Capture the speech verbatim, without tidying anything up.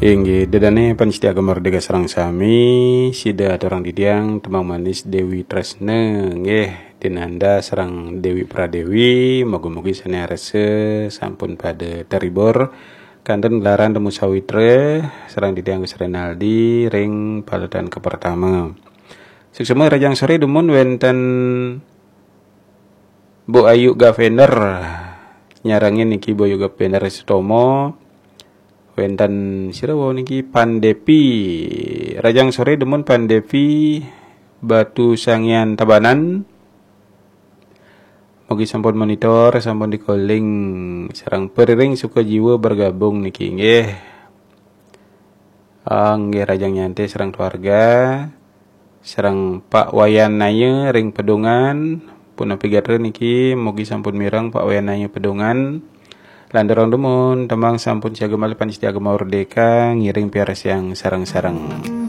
Inggih, ida dané pamiarsa Gema Merdeka sareng sami, sida aturang titiang tembang manis Dewi Tresna, nggih, Dinanda sareng Dewi Pradewi, mugi-mugi sané arsa sampun pada terhibur kanten gelaran Temu Sawitra sareng titiang Gus Renaldi ring paletan kapertama. Suksma rahajeng soré dumun wénten Bu Ayu Gavender nyarengin niki, Bu Ayu Gavender Sutomo. Wénten sira wau niki, Pan Devi. Rahajeng soré dumun Pan Devi Batu Sangian Tabanan. Mugi sampun monitor, sampun dikoling sareng pariring suka jiwa bergabung niki, nggih. Ah, nggih, rahajeng nyantai sareng keluarga, sareng Pak Wayan Naya ring Pedungan. Punapi gatra niki, mugi sampun mireng Pak Wayan Naya Pedungan. Lanturang dumun, tembang sampun siaga malih pamiarsa Gema Merdeka, ngiring piarsayang sareng-sareng.